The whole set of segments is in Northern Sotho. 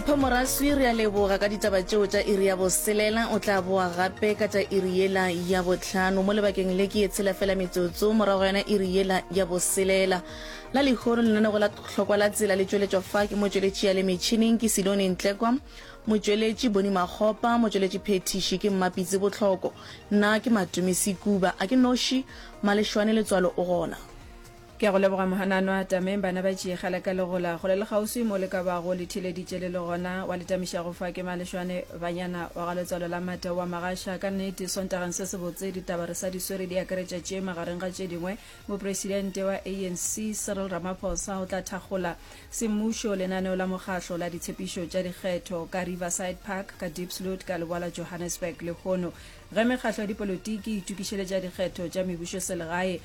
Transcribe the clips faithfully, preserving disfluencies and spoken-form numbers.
Mpho Moraswi, re a leboga ka ditaba tšeo tša iri ya boselela. O tla boa gape ka tša iri yela ya bohlano. Mo lebakeng le ke ye tshela fela metsotso morago ga yona iri yela ya boselela. La lehono lenanego la Hlokwa la Tsela le tšweletšwa fa ke motšweletši ya le metšhineng ke Silone Ntlekwa, motšweletši Boni Makgopa, motšweletši phethiši ke Mmapitsi Bohloko. Nna ke Matome Sekuba. A ke noši, Malešwane Letswalo o gona. Ke a go leboga Mohananwa. Tameng bana ba tšeegela ka legola kgole le kgauswi mo le ka bago le theeleditše le le gona. Wa le tamišago fa ke Malešwane Banyana wa ga Letswalo la Mata wa Magasha. Ka nnete Sontageng se sebotse ditaba re sa di swere di akaretša tše magareng ga tše dingwe Mopresidente wa A N C Cyril Ramaphosa o tla thakgola semmušo lenaneo la mokgahlo la ditshepišo tša dikgetho ka Riverside Park ka Diepsloot ka leboa la Johannesburg lehono ge mekgahlo ya dipolotiki e itokišeletša dikgetho tša mebušoselegae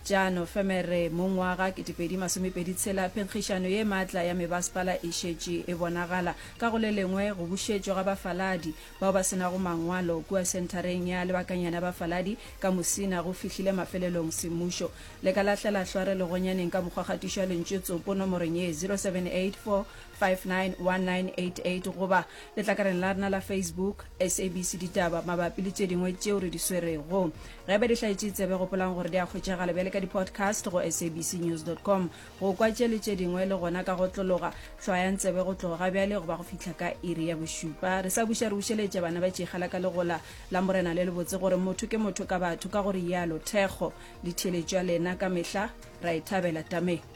tša Nofemere mongwaga kete pedi masome pedi tshela. Phenkgišano ye maatla ya mebasepala e šetše e bonagala. Ka go le lengwe, go bušetšwa ga bafaladi bao ba se nago mangwalo kua senthareng ya lebakanyana ya bafaladi ka Musina go fihlile mafelelong semmušo. Le ka lahlela hlware legonyaneng ka mokgwa kgatišo ya lentšu tsopo nomorong ye zero seven eight four five nine one nine eight eight goba letlakaleng la rena la Facebook, S A B C Ditaba, mabapi le tše dingwe tšeo re di swerego. Ge eba di hlaetše tsebe, gopolang gore di a hwetšagala bjale ka di-podcast go S A B C news dot com. Go kwa tše le tše dingwe le gona ka go tlologa, hlwayang tsebe go tloga ga bjale goba go fihla ka iri ya bošupa. Re sa buša re bušeletša bana ba tšeegela ka legola la Morena le lebotse gore motho ke motho ka batho, ka go rialo thekgo le theeletšo ya lena ka mehla ra e thabela. Tameng.